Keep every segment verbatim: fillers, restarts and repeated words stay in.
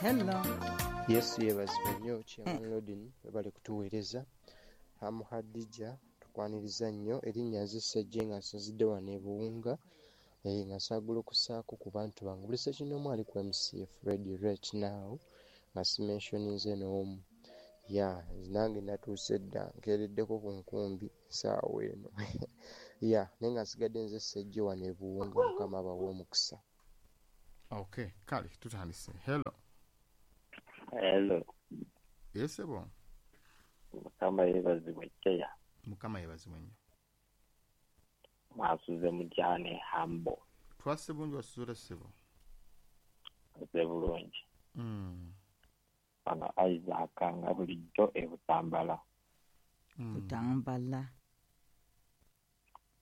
Hello. Yesu yeebazibwe nnyo Chairman Lodin, webale kutuweereza. Hamu Hadija tukwaniriza nnyo, erinnya nze Ssejje nga nsinzidde wano e Buwunga, eh, nga nsaagula okussaako ku bantu bange. Buli ssekinnoomu ali ku M C F Radio right now nga simentioninze n'omu. Ya, nange natuuse dda, nkeereddeko ku nkumbi essaawa eno. Ya, naye nga nsigadde nze Ssejje wano e Buwunga, Mukama abawe omukisa. Okay, kale tutandise. Hello. Hello. Yes, sebo. Mukama yeebazibwe Chair. Mukama yeebazibwe nnyo. Mwasuze mujane hambo. Twase bulungi, wasuze ssebo. Nze bulungi. Mm. Bano Isaac nga bulijjo e Butambala. Mm. Butambala.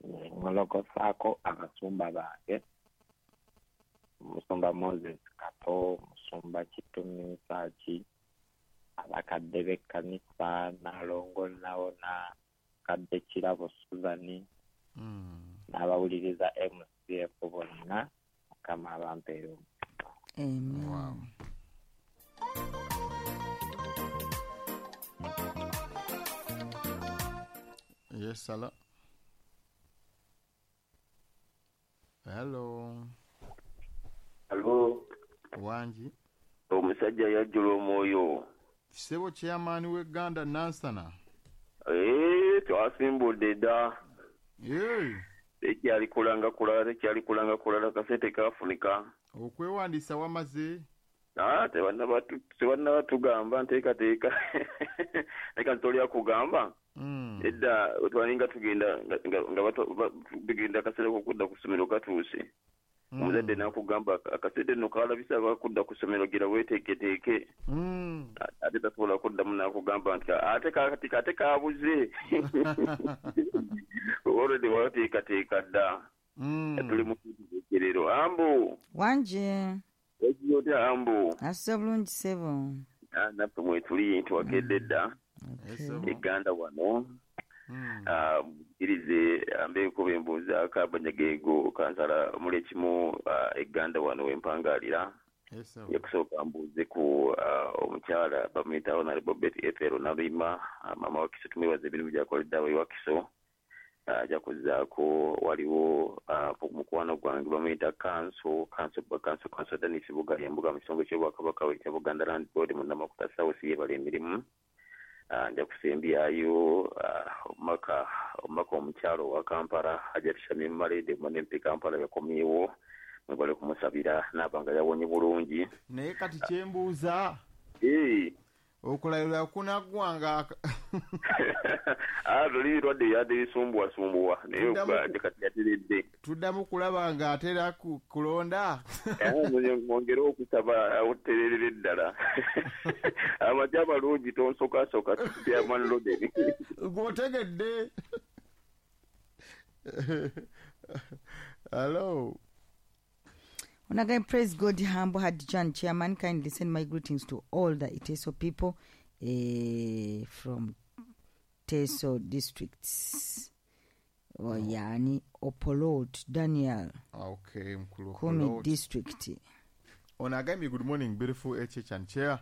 Ngolokosaako abasumba bange. Musumba Moses Kato, Musumba Kitumi Saaki, abakadde b'ekkanisa, Nalongo Nawona, Kadde Kirabo Suzani, mm. n'abawuliriza M C F bonna, Mukama abampeere omukisa. Amen. Wow. Yes, hello. Hello. Hello. Wangi. Omusajja yajjula omwoyo. Ssebo chairman w'Egganda Nansana. Eh, twasimbudde dda. Eh. Tekyali kulanga kulala, tekyali kulanga kulala, kasente kafunika. Okwewandiisa wamaze? Ah, tebannaba tugamba nteekateeka. Leka ntolya kugamba. Mm. Edda twalinga tugenda nga tugenda akaseera k'okudda ku ssomero katuuse. Mm. Omuzadde n'akugamba akasedde nno kalabisa akakudda ku ssomero gira weeteeketeeke. Mm. Ate tasobola kuddamu n'akugamba nti ate kati ate kabuze. Already wateekateeka dda. Mm. Tuli mu kuteekerero. Ambu. Wanje. Wagiye otya Ambu? Asuze bulungi ssebo. Ah, naffe mwetuli twakedde dda. Okay. Eganda wano. Mm. Ah, irize ambeeko bembuuza Kabanyagego kansala omuli ekimu uh, Eganda wano wempangalira. Yes, sir. Yakusooka mbuuze ku uh, omukyala bamuyita Honorable Betty Ethel Naluyima, uh, mama wa Kiso, tumwebaza emirimu gy'akoledde abayi wa Kiso. Ajja kuzzaako waliwo uh, mukwano gwange bamuyita Kanso Kanso Kanso Kanso Denis Bugali embuga mu kitongole ky'Obwakabaka ekya Buganda Land Board Munnamakuta South yeebala emirimu. Uh, nja kusembyayo uh, omubaka omubaka omukyalo wa Kampala Hajat Shamim Malede Munempi Kampala yakomyewo, mwebale kumusabira n'aba nga yawonye bulungi. Naye kati kyembuuza eh okulayira kunaggwanga ah luli lwadde yadde bisumbuwasumbuwa naye Tuddamu- kati yateredde. Tuddamu kulaba nga atera ku- kulonda. Mwongere okusaba otererere ddala. Amagye amalungi tonsokasooka Chairman Lodin. Gw'otegedde. Hello. Onagai, praise God, humble Hadjan Chairman, kindly send my greetings to all the Iteso people eh, from Teso districts. Oh, yani Opolot Daniel. Okay, Mkulu Kumi Opolot. district. Onagami, good morning, beautiful H H and Chair.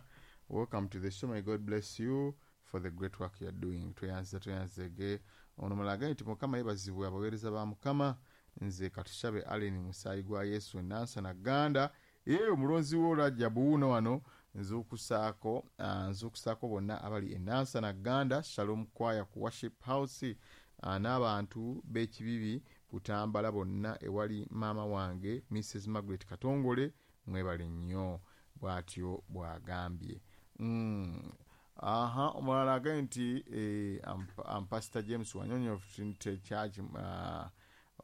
Welcome to the show. May God bless you for the great work you are doing. Tweyanze tweyanzege. Ono mulala nti Mukama yeebazibwe abaweereza ba Mukama. Nze Katushabe Allen musaayi gwa Yesu Nansana Ganda. Ye omulonzi wo Rajabu wuno wano nzukusaako, uh, nzukusaako bonna abali e Nansana Ganda, Shalom Choir ku Worship House, uh, n'abantu b'ekibibi Butambala bonna ewali maama wange Missus Margaret Katongole, mwebale nnyo, bw'atyo bw'agambye. Mm. Aha, omulala agambye nti eh, am, am Pastor James Wanyonyi of Trinity Church, uh,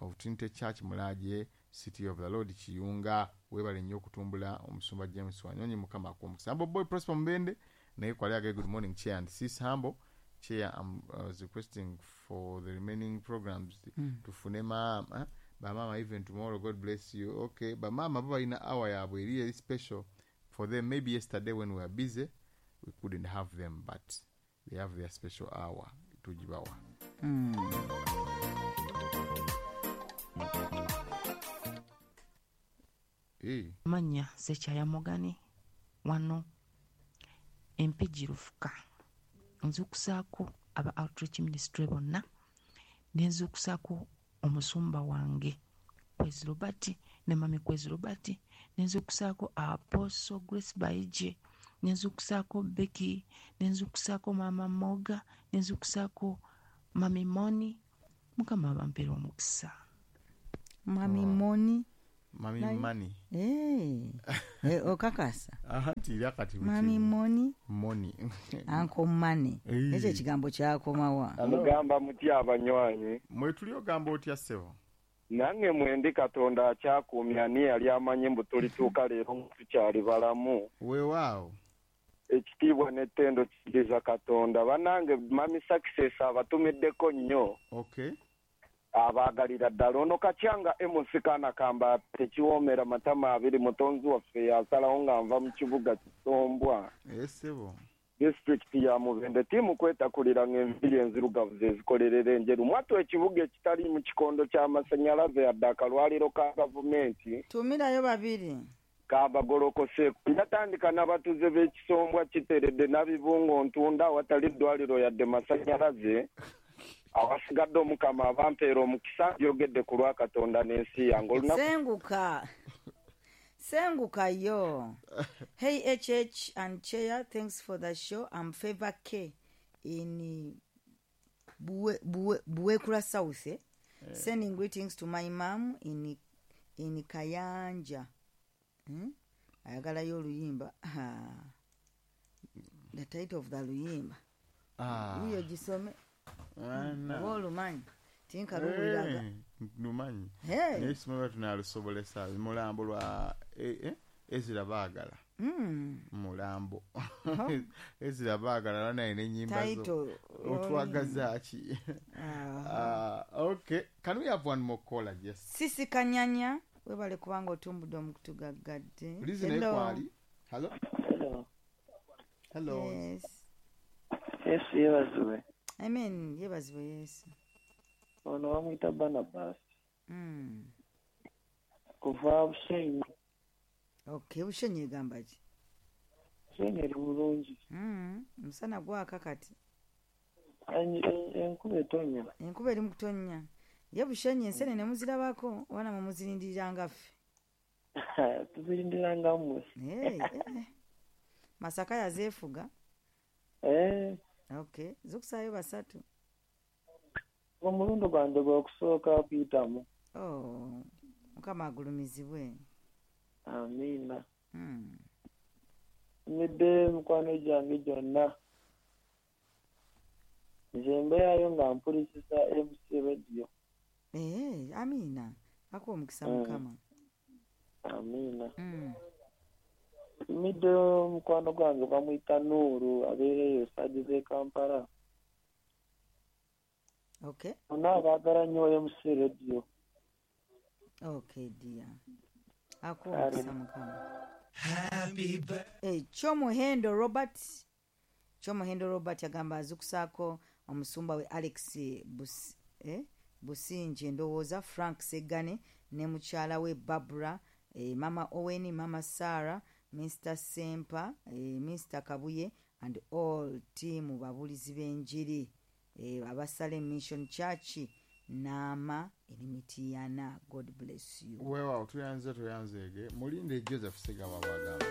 of Trinity Church Mulaje, City of the Lord Kiyunga, webale nnyo okutumbula omusumba James Wanyonyi, Mukama akuwe omukisa. Humble Boy Prosper Mbende naye kwali agambye good morning Chair and Sis Humble. Chair, I'm, I was requesting for the remaining programs Mm. tufune maama bamama even tomorrow. God bless you. Okay, bamama bo balina hour yaabwe eri eri special for them. Maybe yesterday when we were busy we couldn't have them, but they have their special hour tugibawa. Mm. Eh. Manya Sekyaya Mogani Wano Empigi Lufuka. Nzuukusaako aba Outreach Ministry bonna, ne nzuukusaako omusumba wange Kwezi Robert ne Mami Kwezi Robert, ne nzuukusaako Apostle Grace Baije, ne nzuukusaako Becky, ne nzuukusaako Mama Moga, ne nzuukusaako Mami Moni. Mukama abampeere omukisa. Mami Moni. Mami Mani. Eh. Eh, okakasa. Aha, tira kati. Mami Moni. Moni. Anko Mani. Ekyo ekigambo kyakomawa. Mugamba mutya abanywanyi. Mwe tuli ogamba otya ssebo? Nange mwendi Katonda akyakuumya ani yali amanyi mbu tulituuka leero tukyali balamu. Weewaawo. Ekitiibwa n'ettendo kiriza Katonda. Bannange Mami Success abatumiddeko nnyo. Okay. Abaagalira ddala. Ono Kacyanga M C Kaana Kamba tekiwoomera matama abiri, mutonzi waffe yasalawo nga nva mu kibuga Kisombwa. Ssebo. Disitulikiti ya Mubende. Ttiimu kwetakulira ng'enviiri enzirugavu ze zikolerera enjeru. Mwattu ekibuga ekitali mu kikondo ky'amasannyalaze yadde akalwaliro ka gavumenti. Tumirayo babiri. Kabagolokoseeko. Njatandika n'abatuuze b'Ekisombwa Kiteredde Nabibungo Ntunda awatali ddwaliro yadde masannyalaze. Awasigadde Omukama abampeera omukisa, yogedde ku lwa Katonda n'ensi yange. Olunaku Senguka. Senguka yo. Hey H H and Chair, thanks for the show. I'm Favor K in Bue, Bue, Buekura South. Eh? Yeah. Sending greetings to my mom in in Kayanja. Hmm? Ayagalayo oluyimba. The title of the luyimba. Ah. Uyo gisome. Ana. Oba olumanyi. Tinkaluwuliraga. Lumanyi. Hey. Naye simanyi tunalusobolesa mulambo lwa eh, eh, Ezra Baagala. Mm. Mulambo. Ezra Baagala naye n'ennyimba zo. Title. Otwagaza ki? Ah. Uh, okay. Can we have one more caller? Yes. Sisi Kanyanya, webale kubanga otumbudde omukutu gaggadde. Lizi naye kwali. Hello. Hello. Hello. Yes. Yesu yeebazibwe. Amen, yeebazibwe Yesu. Ono bamuyita Barnabas. Mm. Kuva Bushenyi. Okay, Bushenyi egamba ki? Bushenyi eri bulungi. Mm. Omusana gwaka kati. Enkuba etonnya. Enkuba eri mu kutonnya. Ye Bushenyi ensenene muzirabako oba namwe muzirindirira nga ffe? Tuzirindirira nga mmwe. Hey, eh. Masaka yazeefuga. Eh. Okay, zukusaayo basatu. Omulundi gwange gw'okusooka kuyitamu. Oh, Mukama agulumizibwe. Amiina. Mm. Mmidde mikwano gyange gyonna. Nze mbeerayo nga mpulisisa M C Radio. Eh, amiina. Akuwa omukisa Mm. Mukama. Amiina. Mm. Mmidde mukwano gwange bamuyita Nuuru abeera eyo Saagi z'e Kampala. Okay. Bonna abaagala nnyo M C Radio. Okay, dear. Akuwa omukisa Mukama. Eh, Kyomuhendo Robert. Kyomuhendo Robert agamba azukusaako omusumba we Alex Bus, eh, Businje ndowooza Frank Segane ne mukyala we Barbara, eh, Mama Owen, Mama Sarah, Mister Sempa, eh, Mister Kabuye and all team babulizi b'enjiri eh, abasale Mission Church Naama Erimitiyana. God bless you. Weewaawo, tuyanze tuyanzeege. Mulinde Joseph Ssegawa bw'agamba.